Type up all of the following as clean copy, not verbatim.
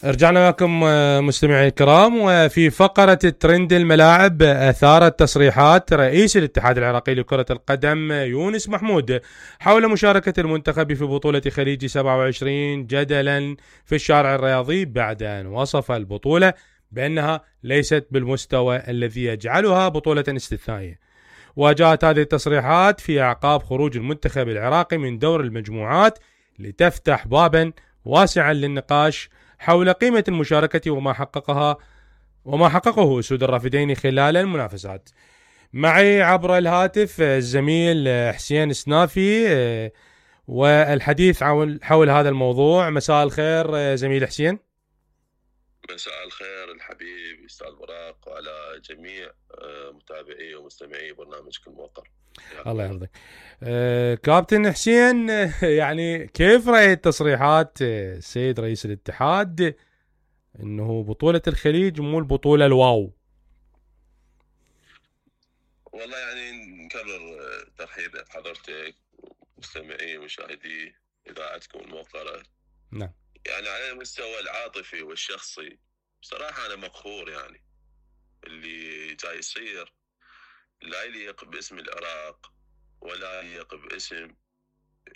رجعنا لكم مستمعي الكرام، وفي فقرة ترند الملاعب أثارت تصريحات رئيس الاتحاد العراقي لكرة القدم يونس محمود حول مشاركة المنتخب في بطولة خليج 27 جدلا في الشارع الرياضي، بعد أن وصف البطولة بأنها ليست بالمستوى الذي يجعلها بطولة استثنائية. وجاءت هذه التصريحات في أعقاب خروج المنتخب العراقي من دور المجموعات لتفتح بابا واسعا للنقاش حول قيمة المشاركة وما حققه أسود الرافدين خلال المنافسات. معي عبر الهاتف الزميل حسين سنافي والحديث حول هذا الموضوع. مساء الخير زميل حسين. مساء الخير الحبيب أستاذ براق وعلى جميع متابعي ومستمعي برنامجك الموقر. الله يحفظك. كابتن حسين، يعني كيف رأيت تصريحات السيد رئيس الاتحاد انه بطولة الخليج مو البطولة الواو؟ والله يعني نكرر ترحيبي بحضرتك ومستمعي ومشاهدي اذاعتكم الموقرة. نعم. يعني على المستوى العاطفي والشخصي بصراحة انا مقهور، يعني اللي جاي يصير لا يليق باسم العراق ولا يليق باسم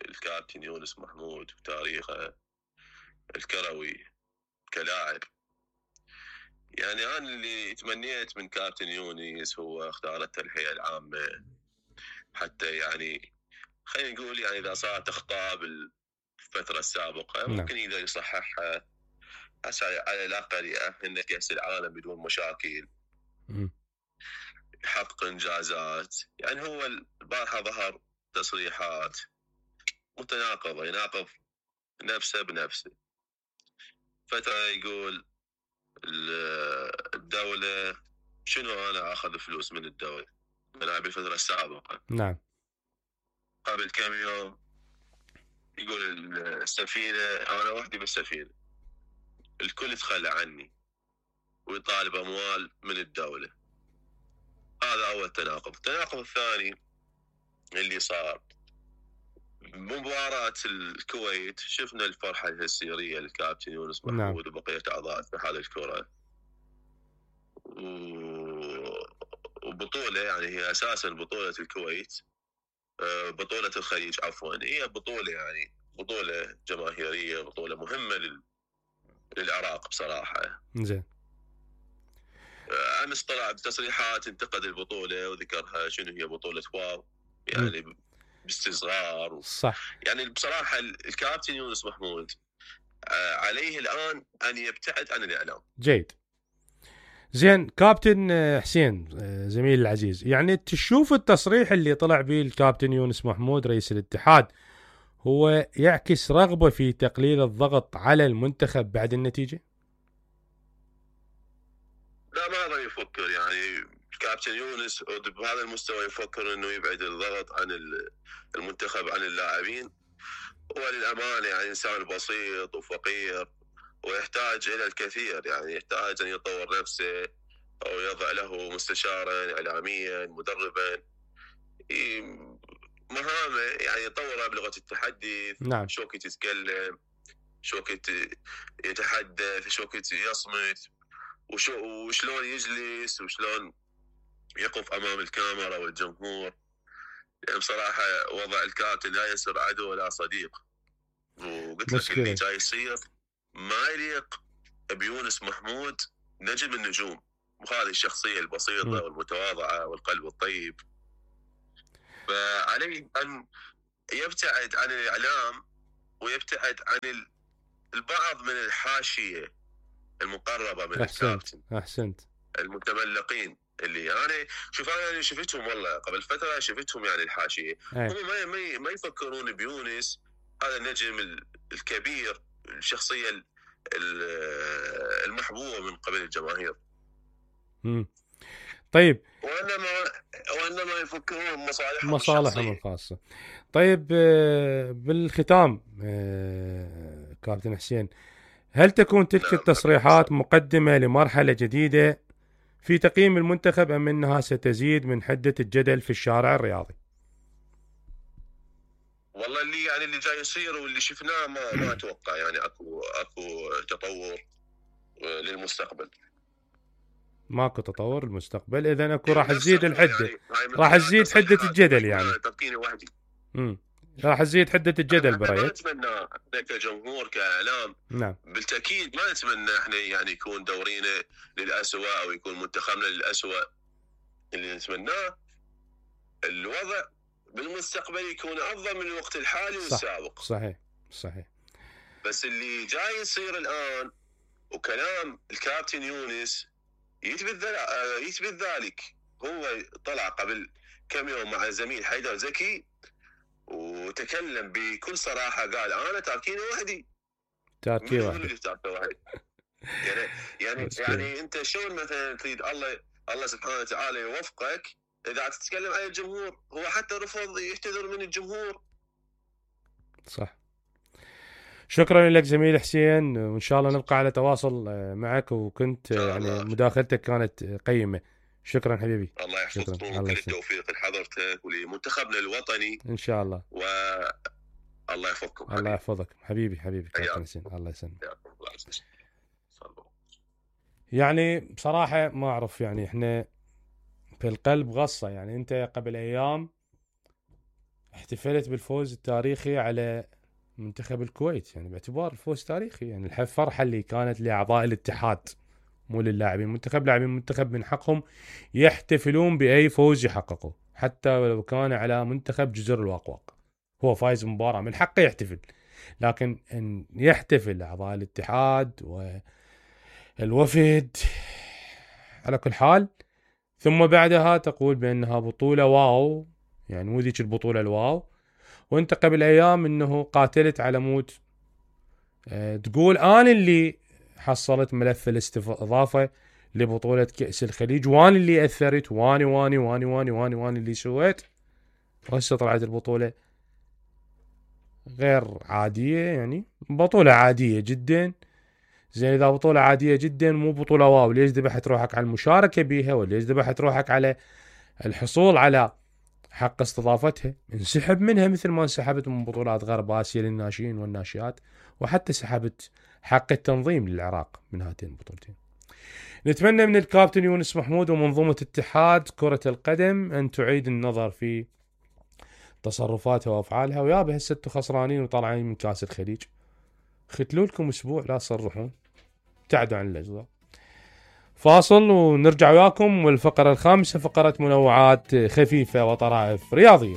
الكابتن يونس محمود وتاريخه الكروي كلاعب. يعني أنا اللي تمنيت من كابتن يونس هو اختار التلحية العامة، حتى يعني خلينا نقول يعني إذا صارت أخطاء بالفترة السابقة ممكن إذا يصححها على الأقل يأهلنا كأس العالم بدون مشاكل، يحقق إنجازات. يعني هو البارحة ظهر تصريحات متناقضة، يناقض نفسه بنفسه. فترة يقول الدولة شنو أنا أخذ فلوس من الدولة أنا بالفترة السابقة. نعم. قبل كم يوم يقول السفينة أنا وحدي بالسفينة، الكل تخلى عني ويطالب أموال من الدولة. هذا أول تناقض. التناقض الثاني اللي صار مباراة الكويت، شفنا الفرحة الهستيرية للكابتن يونس محمود وبقية أعضاء اتحاد الكرة، وبطولة يعني هي أساسا بطولة الكويت، بطولة الخليج عفوا، هي بطولة يعني بطولة جماهيرية، بطولة مهمة للعراق بصراحة. زين. أمس طلع بتصريحات انتقد البطولة وذكرها شنو هي بطولة واو، يعني باستصغار صح. يعني بصراحة الكابتن يونس محمود عليه الآن أن يبتعد عن الإعلام. جيد. زين كابتن حسين زميل العزيز، يعني تشوف التصريح اللي طلع به الكابتن يونس محمود رئيس الاتحاد هو يعكس رغبة في تقليل الضغط على المنتخب بعد النتيجة؟ لا، ما هذا يفكر يعني الكابتن يونس بهذا المستوى يفكر انه يبعد الضغط عن المنتخب عن اللاعبين. هو للأمانة يعني إنسان بسيط وفقير ويحتاج إلى الكثير، يعني يحتاج أن يطور نفسه أو يضع له مستشارا إعلاميا مدربا مهامه، يعني يطورها بلغة التحدث. نعم. شو كنت يتكلم، شو كنت يتحدث، شو كنت يصمت، وشلون يجلس، وشلون يقف أمام الكاميرا والجمهور. يعني بصراحة وضع الكابتن لا يسر عدو ولا صديق، وقلت لك اللي جاي يصير ما يليق بيونس محمود نجم النجوم، وهذه الشخصية البسيطة والمتواضعة والقلب الطيب. فعليه أن يبتعد عن الإعلام ويبتعد عن البعض من الحاشية المقربة من الكابتن. أحسنت. المتملقين اللي أنا شفتهم والله قبل فترة، شفتهم يعني الحاشية هم ما يفكرون بيونس هذا النجم الكبير، الشخصية المحبوبة من قبل الجماهير. طيب. وإنما يفكرون مصالحهم الخاصة. طيب بالختام كابتن حسين، هل تكون تلك التصريحات مقدمة لمرحلة جديدة في تقييم المنتخب أم أنها ستزيد من حدة الجدل في الشارع الرياضي؟ والله اللي جاي يصير واللي شفناه ما اتوقع يعني اكو تطور للمستقبل. ماكو تطور للمستقبل، اذا اكو راح تزيد الحده، راح تزيد حده الجدل يعني. تلقيني وحدي. راح تزيد حده الجدل برايك. ما نتمنى احنا كجمهور كاعلام، نعم بالتاكيد ما نتمنى احنا يعني يكون دورينا للأسوأ او يكون منتخبنا للأسوأ. اللي نتمناه الوضع بالمستقبل يكون افضل من الوقت الحالي والسابق. صحيح صحيح. بس اللي جاي يصير الان وكلام الكابتن يونس يثبت ذلك. هو طلع قبل كم يوم مع الزميل حيدر زكي وتكلم بكل صراحه، قال انا تاركيني وحدي. تاركي وحدي يعني انت شلون مثلا تريد الله سبحانه وتعالى يوفقك اذا تتكلم عن الجمهور؟ هو حتى رفض يعتذر من الجمهور. صح. شكرا لك زميل حسين، وان شاء الله نبقى على تواصل معك، وكنت يعني مداخلتك كانت قيمه. شكرا حبيبي. الله يحفظكم وكل التوفيق لحضرتك ولمنتخبنا الوطني ان شاء الله. الله يحفظكم. الله يحفظك حبيبي كابتن حسين، الله يسلمك. يعني بصراحه ما اعرف، يعني احنا في القلب غصه. يعني انت قبل ايام احتفلت بالفوز التاريخي على منتخب الكويت، يعني باعتبار الفوز تاريخي، يعني الفرحه اللي كانت لاعضاء الاتحاد مو للاعبين المنتخب. لاعبين المنتخب من حقهم يحتفلون باي فوز يحققه، حتى لو كان على منتخب جزر الواقواق. هو فايز مباراه من حقه يحتفل، لكن ان يحتفل اعضاء الاتحاد والوفد على كل حال، ثم بعدها تقول بانها بطوله واو، يعني مو ذيك البطوله الواو، وانت قبل ايام انه قاتلت على مود تقول انا اللي حصلت ملف الاستضافه لبطوله كاس الخليج، وانا اللي اثرت، واني واني واني واني واني واني اللي سويت. وهسه طلعت البطوله غير عاديه، يعني بطوله عاديه جدا. زين اذا بطوله عاديه جدا مو بطوله واو، ليش ذبحت روحك على المشاركه بيها؟ وليش ذبحت روحك على الحصول على حق استضافتها؟ انسحب منها مثل ما انسحبت من بطولات غرب آسيا للناشئين والناشئات، وحتى سحبت حق التنظيم للعراق من هاتين البطولتين. نتمنى من الكابتن يونس محمود ومنظومة اتحاد كرة القدم أن تعيد النظر في تصرفاتها وأفعالها، ويابا هسه انتم خسرانين وطالعين من كاس الخليج، ختلوا لكم أسبوع لا تصرحون، ابتعدوا عن الأجواء. فاصل ونرجع وياكم، والفقرة الخامسة فقرة منوعات خفيفة وطرائف رياضية.